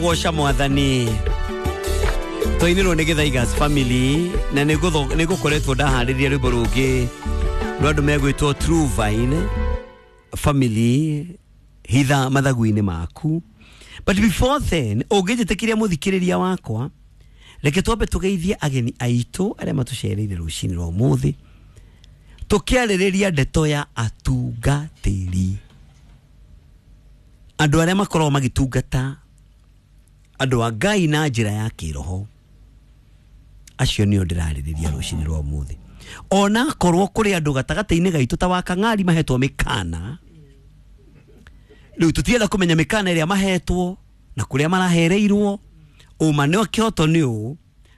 Goca mwathani twainirwo nĩ Gĩthaigas family na nĩ ngũkoretwo ndaharĩria rwĩmbo rũngĩ rwa andũ megwĩtwo True Vine family hitha mathagu-inĩ maku. But before then, ũngĩnjĩtĩkĩria mũthikĩrĩria wakwa, reke twambe tũgeithie ageni aitũ arĩa matũcereire rũcinĩ rwa ũmũthĩ, tũkĩarĩrĩria ndeto ya atungatĩri, andũ arĩa makoragwo magĩtungata andũ a Ngai na njĩra ya kĩroho. Acio nĩo ndĩrarĩrĩria rũcinĩ rwa ũmũthĩ. Ona korwo kũrĩ andũ gatagatĩ-inĩ gaitũ ta wa Kang'ari mahetwo mĩkana, rĩu tũtienda kũmenya mĩkana ĩrĩa mahetwo na kũrĩa marahereirwo, ũma nĩ kĩhoto nĩ ũũ,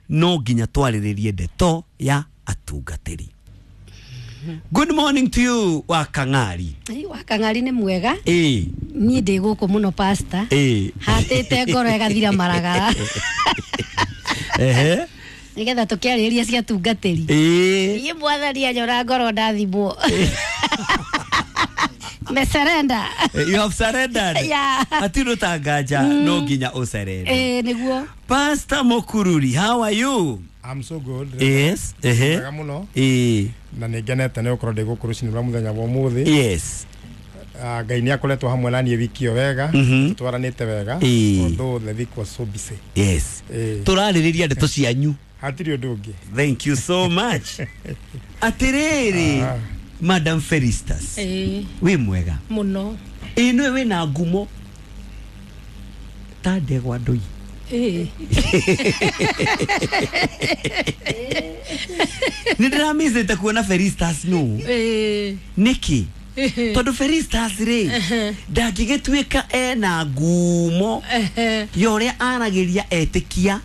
no nginya twarĩrĩrie ndeto ya atungatĩri. Good morning to you, wa Kang'ari. Wa Kang'ari nĩ mwega. Ĩĩ. Niĩ ndĩ gũkũ mũno, pastor. Ĩĩ. Hatĩte ngoro ĩgathira maragara. Ehe. Nĩgetha tũkĩarĩrĩria cia tungatĩri. Ĩĩ. Niĩ mwathani anyona ngoro ndathimwo. Mesurrender. You have surrendered. Yeah. Hatirĩ ũtanganja, no nginya ũsurrender. Ĩĩ nĩguo. Pastor Mokururi, how are you? I'm so good. Yes. Ehe. Wega mũno. Ĩĩ. Na nĩ ngenete nĩ gũkorwo ndĩ gũkũ rũcinĩ rwa mũthenya wa ũmũthĩ. Yes. Ngai nĩ akoretwo hamwe na niĩ wiki ĩyo wega. Tũtwaranĩte wega. Ĩĩ. Although the week was so busy. Yes. Ĩĩ. Tũrarĩrĩria ndeto cianyu. Hatirĩ ũndũ ũngĩ. Thank you so much. Atĩrĩrĩ, Madam Felistus. Ĩĩ. Wĩ mwega? Mũno. Ĩĩ nĩwe wĩna ngumo ta ndegwa ndũi. Ĩĩ. Nĩ ndĩramicĩte kuona Felistus no. Ĩĩ. Nĩkĩ? Tondũ Felistus rĩ, ndangĩgĩtuĩka ena ngumo ya ũrĩa aragĩria etĩkia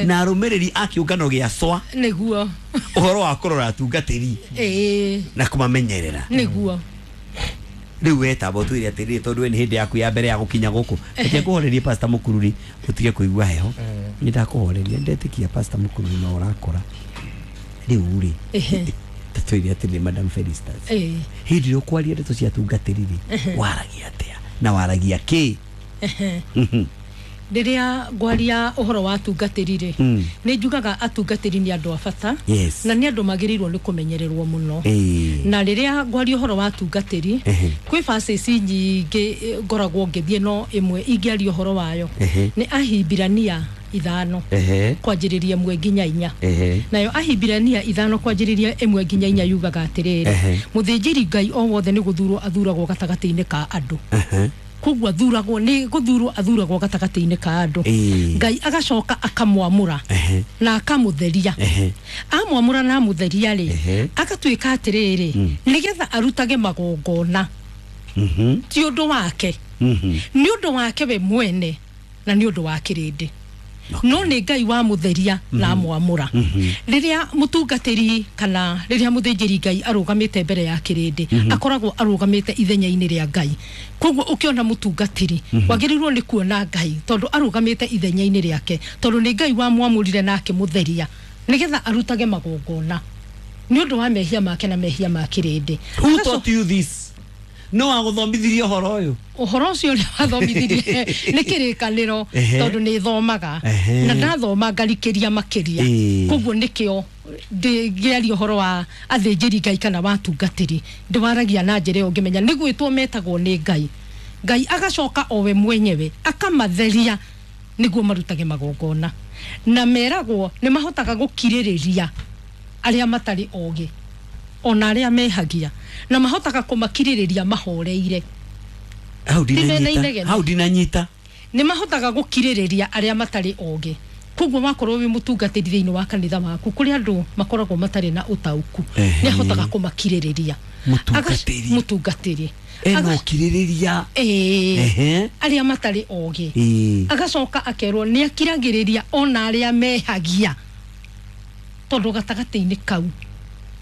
na arũmĩrĩri a kĩũngano gĩa CWA Nĩguo. ũhoro wa kũrora atungatĩri Ĩĩ. na kũmamenyerera. Nĩguo. Rĩu wetamba ũtwĩre atĩrĩrĩ, tondũ we nĩ hĩndĩ yaku ya mbere ya gũkinya gũkũ, reke ngũhorerie Pastor Mũkururi ũtige kũigua heho. Nĩ ndakũhoreria, ndetĩkia Pastor Mũkururi no ũrakora. Rĩu rĩ, ta twĩre atĩrĩrĩ, Madam Felistus, Ĩĩ. hĩndĩ ĩrĩa ũkwaria ndeto cia atungatĩri rĩ, waragia atĩa na waragia kĩ? Rĩrĩa ngwaria ũhoro wa atungatĩri rĩ, nĩ njugaga atungatĩri nĩ andũ a bata. Yes. Na nĩ andũ magĩrĩirwo nĩ kũmenyererwo mũno. Ĩĩ. Na rĩrĩa ngwaria ũhoro wa atungatĩri, kwĩ verses nyingĩ ngoragwo ngĩthiĩ, no ĩmwe ingĩaria ũhoro wayo nĩ Ahibirania 5 kwanjĩrĩria 1 nginya 4. Nayo Ahibirania 5 kwanjĩrĩria 1 nginya 4 yugaga atĩrĩrĩ, mũthĩnjĩri Ngai o wothe nĩ gũthurwo athuragwo gatagatĩ-inĩ ka andũ. Koguo athuragwo nĩ gũthurwo athuragwo gatagatĩ-inĩ ka andũ. Ngai agacoka akamwamũra na akamũtheria. Amwamũra na amũtheria rĩ, agatuĩka atĩrĩrĩ, nĩgetha arutage magongona. Ti ũndũ wake. Nĩ ũndũ wake we mwene na nĩ ũndũ wa kĩrĩndĩ. No nĩ Ngai wamũtheria na amwamũra. Rĩrĩa mũtungatĩri kana rĩrĩa mũthĩnjĩri Ngai arũgamĩte mbere ya kĩrĩndĩ, akoragwo arũgamĩte ithenya-inĩ rĩa Ngai. Koguo ũkĩona mũtungatĩri, wagĩrĩirwo nĩ kuona Ngai tondũ arũgamĩte ithenya-inĩ rĩake, tondũ nĩ Ngai wamwamũrire na akĩmũtheria nĩgetha arutage magongona nĩ ũndũ wa mehia make na mehia ma kĩrĩndĩ. Who taught you this? No agũthomithirie ũhoro ũyũ? Ũhoro ũcio ũrĩa wathomithirie nĩ kĩrĩkanĩro, tondũ nĩ thomaga na ndathoma ngarikĩria makĩria. Koguo nĩkĩo ndĩngĩaria ũhoro wa athĩnjĩri Ngai kana wa atungatĩri, ndĩwaragia na njĩra ĩyo ngĩmenya nĩ gwĩtwo metagwo nĩ Ngai. Ngai agacoka o we mwenyewe akamatheria nĩguo marutage magongona, na meragwo nĩ mahotaga gũkirĩrĩria arĩa matarĩ ogĩ ona arĩa mehagia, na mahotaga kũmakirĩrĩria mahoreire. Hau Ti mena ndinanyita. inegene. Hau ndinanyita. Nĩ mahotaga gũkirĩrĩria arĩa matarĩ ogĩ. Koguo wakorwo wĩ mũtungatĩri thĩinĩ wa kanitha waku, kũrĩ andũ makoragwo matarĩ na ũtaũku, nĩ ahotaga kũmakirĩrĩria. Mũtungatĩri. Mũtungatĩri. Ena ũkirĩrĩria. Ĩĩ. Arĩa matarĩ ogĩ. Agacoka akerwo nĩ akiragĩrĩria ona arĩa mehagia, tondũ gatagatĩ-inĩ kau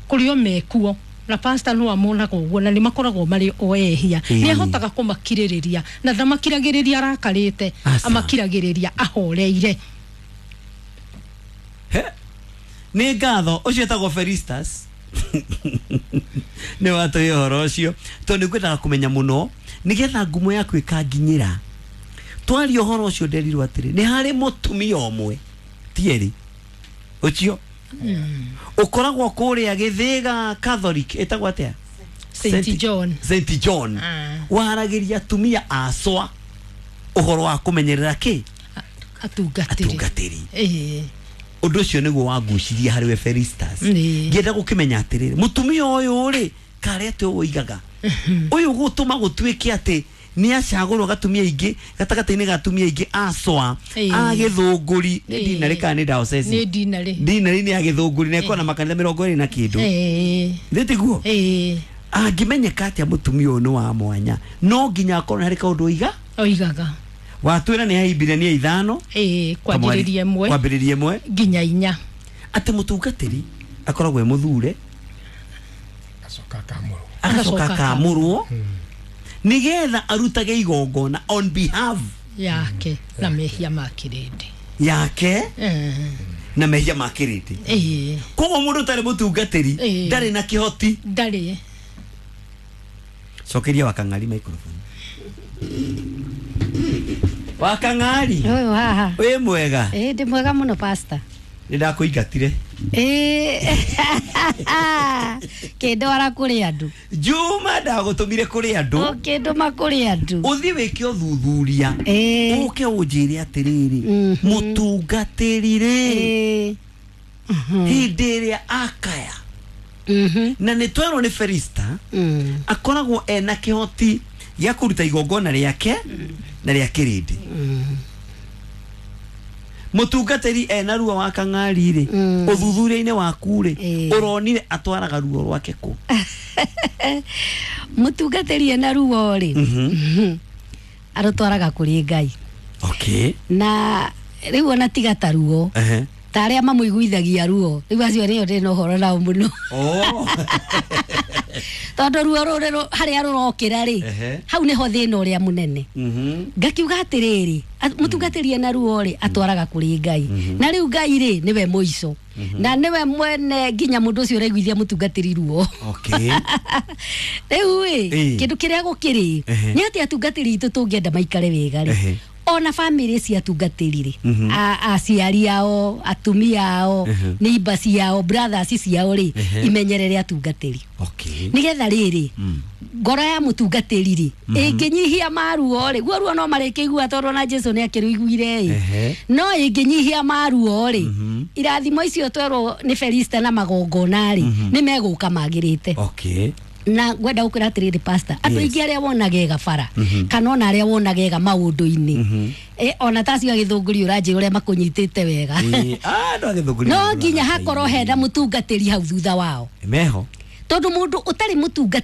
kũrĩ o mekuo na pastor no amonaga ũguo, na nĩ makoragwo marĩ o ehia. Nĩ ahotaga kũmakirĩrĩria, na ndamakiragĩrĩria arakarĩte, amakiragĩrĩria ahoreire. He. Nĩ ngatho ũcio etagwo Felistus. Nĩ watũhe ũhoro ũcio, tondũ nĩ ngwendaga kũmenya mũno nĩgetha ngumo yaku ĩkanginyĩra. Twaria ũhoro ũcio nderirwo atĩrĩ nĩ harĩ mũtumia ũmwe ti erĩ ũcio ũkoragwo kũrĩa Gĩthĩga Catholic ĩtagwo atĩa? St John. St John. Waragĩria atumia acwa ũhoro wa kũmenyerera kĩ? Atungatĩri. Ũndũ ũcio nĩguo wangucirie harĩ we Felistas. Ngĩenda gũkĩmenya atĩrĩrĩ mũtumia ũyũ rĩ karĩa atĩ ũigaga ũyũ gũtũma gũtuĩke atĩ nĩ acagũrwo gatumia aingĩ gatagatĩ-inĩ ga atumia aingĩ acwa a Gĩthũngũri nĩ dinarĩ kana nĩ diocese? Nĩ dinarĩ. Dinarĩ nĩ ya Gĩthũngũri na ĩkoragwo na makanitha 20 na kĩndũ. Nĩ tiguo? Angĩmenyeka atĩa mũtumia ũyũ nĩ wa mwanya no nginya akorwo harĩ kaũndũ oigaga. Watwĩra nĩ Ahibirania 5 kwambĩrĩria 1 kwambĩrĩria 1 nginya 4 atĩ mũtungatĩri akoragwo e mũthure agacoka akamũrwo nigetha arutage igongona on behalf yake na mehia ma kĩrĩndĩ yake na mehia ma kĩrĩndĩ. Koguo mũndũ ũtarĩ mũtungatĩri ndarĩ na kĩhoti. Ndarĩ. Cokeria Wakang'ari microphone. Wakang'ari ũyũ haha wĩ mwega? Ndĩ mwega mũno pastor. Nĩ ndakũingatire. Kĩndwara kũrĩ andũ. Juma ndagũtũmire kũrĩ andũ. Ũkĩndũma kũrĩ andũ. Ũthiĩ wĩke ũthuthuria. Ũke ũnjĩre atĩrĩrĩ mũtungatĩri rĩ hĩndĩ ĩrĩa akaya na nĩ twerwo nĩ Felista akoragwo ena kĩhoti gĩa kũruta igongona rĩake na rĩa kĩrĩndĩ. Mũtungatĩri ena ruo wa Kang'ari rĩ ũthuthuria-inĩ waku rĩ ũronire atwaraga ruo rwake kũ? Mũtungatĩri ena ruo rĩ arũtwaraga kũrĩ Ngai. Okay. Na rĩu ona tiga ta ruo ta arĩa mamũiguithagia ruo rĩu acio nĩo ndĩ na ũhoro nao mũno. Tondũ ruo rũrĩ harĩa rũrokĩra rĩ hau nĩho thĩna ũrĩa mũnene. Ngakiuga atĩrĩrĩ mũtungatĩri ena ruo rĩ atwaraga kũrĩ Ngai. Na rĩu Ngai rĩ nĩwe mũico na nĩwe mwene nginya mũndũ ũcio ũraiguithia mũtungatĩri ruo. Rĩu ĩ kĩndũ kĩrĩa gũkĩrĩ nĩ atĩ atungatĩri itũ tũngĩenda maikare wega rĩ ona family cia atungatĩri rĩ aciari ao atumia ao neighbors ciao brothers ciao rĩ imenyerere atungatĩri. Nĩgetha rĩrĩ ngoro ya mũtungatĩri rĩ ĩngĩnyihia maruo rĩ guo ruo no marĩkĩigua tondũ ona Jesu nĩ akĩrũiguire ĩ no ĩngĩnyihia maruo rĩ irathimo icio twerwo nĩ Felista na magongona rĩ nĩ megũka magĩrĩte. Na ngwenda gũkwĩra atĩrĩrĩ pastor andũ aingĩ arĩa wonagega bara kana ona arĩa wonagega maũndũ-inĩ ona ta acio a Gĩthũngũri ũranjĩra ũrĩa makũnyitĩte wega no nginya hakorwo hena mũtungatĩri hau thutha wao meho tondũ mũndũ ũtarĩ mũtungatĩri